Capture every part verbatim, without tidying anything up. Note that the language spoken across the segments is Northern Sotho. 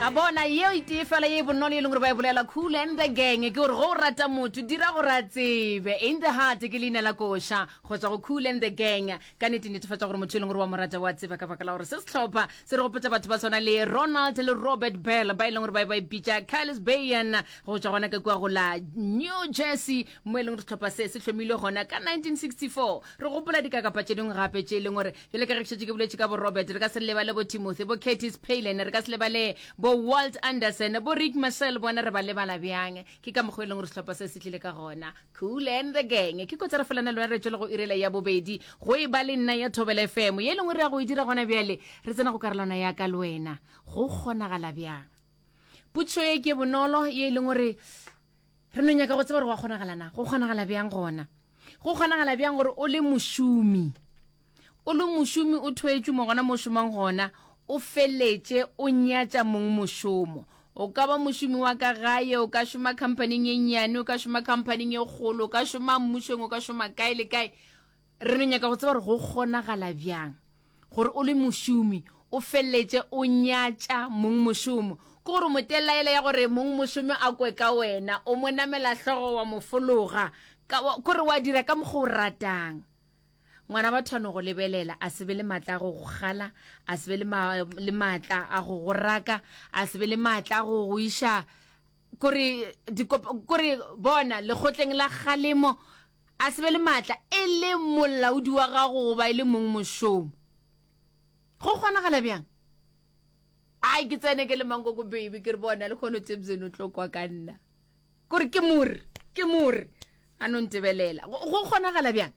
La bona yeo e tee fela ye e bonolo e leng gore ba e bolela Kool and the Gang ke gore go o rata motho dira gore a tsebe. In the Heart ke leina la koša go tswa go Kool and the Gang. Ka nnete netefatša gore motho e leng gore wa mo rata wa tseba ka baka la gore se sehlopha se re gopotša batho ba tshwana le Ronald le Robert Bell ba e leng gore ba ba ipitša Carlos Bayan go tswa gona ka kua go la New Jersey mo e leng gore sehlopha se se hlomilwe gona ka nineteen sixty four. Re gopola dikakapa tše dingwe gape tše e leng gore bjale ka ge ke šetše ke boletše ka bo Robert, re ka se lebale bo Timothy, bo Curtis Palin, re ka se lebale bo Walt Anderson, bo Rick Marcel, bona re ba lebala bjang? Ke ka mokgwa e leng gore sehlopha se se tlile ka gona. Kool and the Gang. Ke kotsi re felana le wena re tšwele go irela ya bobedi go e ba le nna ya Thobela F M ye e leng gore re ya go e dira gona bjale. Re tsena go karolwana ya ka le wena. Go kgonagala bjang? Potšišo ye ke bonolo ye e leng gore re no nyaka go tseba gore go a kgonagala na. Go kgonagala bjang gona? Go kgonagala bjang gore o le mošomi, o le mošomi o thwetšwe mo gona mo o šomang gona, o feletše o nyatša mong mošomo? O ka ba mošomi wa ka gae, o ka šoma khamphaning ye nnyane, o ka šoma khamphaning ye kgolo, o ka šoma mmušong, o ka šoma kae le kae. Re no nyaka go tseba gore go kgonagala bjang gore o le mošomi o feleletše o nyatša mongmošomo. Ke gore o mo telaela ya gore mongmošomo a kwe ka wena, o mo namela hlogo wa mo fologa, ka, wa, kore wa dira ka mokgwa o ratang. Ngwana batho a no go lebelela, a se be le maatla a go go kgala, a se be le, ma, le maatla a go go raka, a se be le maatla a go go iša kore, dikopa, kore bona lekgotleng la kgalemo, a se be le maatla e le molaodi wa gago goba e le mongmošomo. Go kgonagala bjang? Ai, ke tsene ke le mankoko baby, ke re bona le kgono Tebzeni o tlo kwa ka nna. Kore ke more, ke more. A no ntebelela. Go, go kgonagala bjang?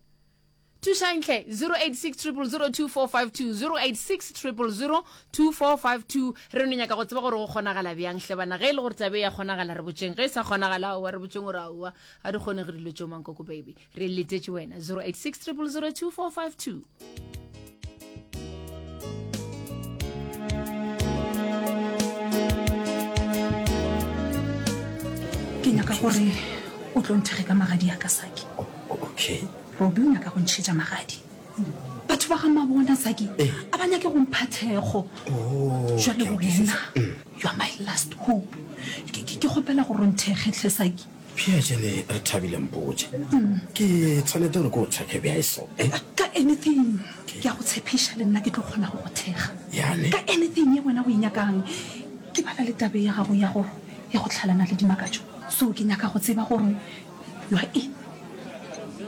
Thušang hle, zero eight six triple zero two four five two, zero eight six triple zero two four five two. Re no nyaka go tseba gore go kgonagala bjang hle bana. Ge e le gore tabe ya kgonagala re botšeng, ge e sa kgonagala aowa re botšeng gore aowa a di kgonege dilo tšeo mankoko baby. Re letetše wena, zero eight six triple zero two four five two. Ke nyaka gore o tlo nthekge ka magadi a ka, Saki. Okay. Robbie o nyaka go ntšhetša magadi. Batho ba ga Mabona, Saki, a ba nyake go mpha thekgo. Oh, Jwale ke a wena, kwešiša. you are my last hope. Ke, ke, ke kgopela gore o nthekge hle, Saki. Bjale re thabile mpotše. Ke tshwanete gore ke o thekge bjang so? Ka anything. Ke a go tshepiša le nna ke tlo kgona go go thekga. Yane. Ka anything ye wena o e nyakang. Ke bala le tabe ya gago ya go ya go hlalana le Dimakatšo. So ke nyaka go tseba gore you are in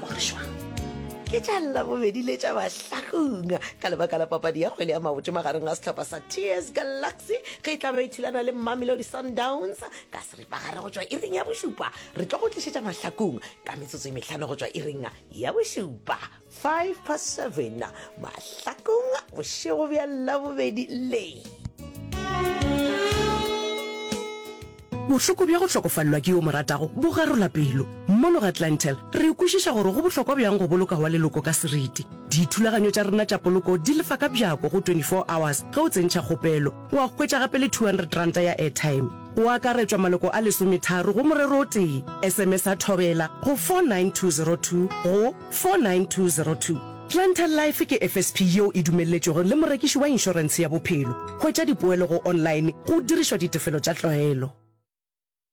or jwang. Ke tša Labobedi le tša Mahlakung ka lebaka la papadi ya kgwele ya maoto magareng ga sehlopha sa T S Galaxy ge e tla be e thulana le Mamelodi Sundowns ka seripagare go tšwa iring ya bošupa. Re tlo go tlišetša Mahlakung ka metsotso e mehlano go tšwa iring ya bošupa, five past seven, Mahlakung bošego bja Labobedi le. Bohloko bja go hlokofalelwa ke yo o mo ratago bo garola pelo. Mono ga Clientele, re kwešiša gore go bohlokwa bjang go boloka wa leloko ka seriti. Dithulaganyo tša rena tša poloko di lefa ka bjako go twenty four hours ge o tsentšha kgopelo. Wa hwetša gape le two hundred ranta ya airtime. Go akaretšwa maloko a lesometharo go morero o tee. S M S a Thobela go four nine two zero two go four nine two zero two. Clientele Life ke F S P yeo e dumelletšwego le morekiši wa inšorentshe ya bophelo. Hwetša dipoelo go online go dirišwa ditefelo tša tlwaelo.